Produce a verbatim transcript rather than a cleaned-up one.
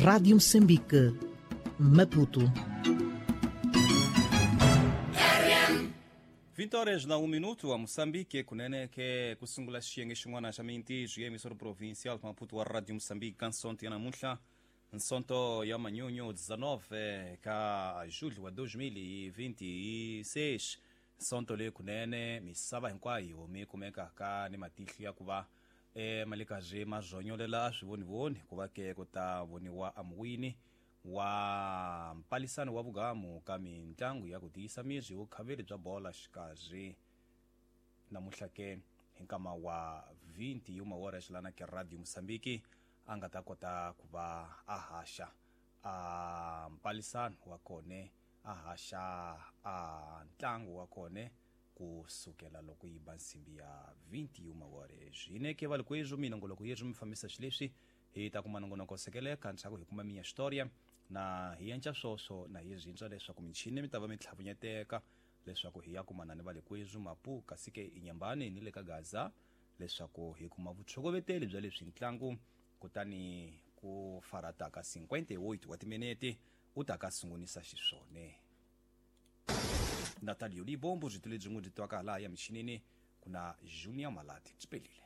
Rádio Moçambique, Maputo. vinte horas na um minuto a Moçambique kunene ke kusungula xiyenge xin'wana xa mintirho ya emisoro provincial Maputo wa Radio Moçambique ka nsonto ya namuntlha nsonto ya manyunyu dezenove ka julho wa dois mil e vinte e seis nsonto leyi kunene misava hinkwayo mi kumekaka ni matihlo ya ku va e malikazi ma zonyolela a swi vonivoni ku va ke ku ta voniwa amuwini wa mpalisano wa vugamu ka mintlangu ya ku tiyisa miri vukhaveri bya bola xikarhi namuntlha ke hi nkama wa vinte e uma horas lana ke Radio Moçambique a nga ta kota ku va a haxa a mpalisano wa kone a haxa a ntlangu wa kone kusukela loko yi ba nsimbi ya vinte e uma horas hineke valikwezu minongoloko yethu mi fambisa xileswi hi ta kuma nongonoko sekeleka ntshaku hi kuma minya xitoria na hi yenca swoswo na hi zintswa leswaku michini mi ta va mi tlhavunyeteka leswaku hi ya kumana ni valikwezu Mapu kasi ke inyambani ni le ka Gaza leswaku hi kuma vutshokoveteli bya leswi ntlangu kutani ku farata ka cinquenta e oito wa timinete u ta ka sungunisa xiswone. Natalio Libombo byi tule byin'we byi twaka laha ya michinini kuna Junior Malati byi pelile.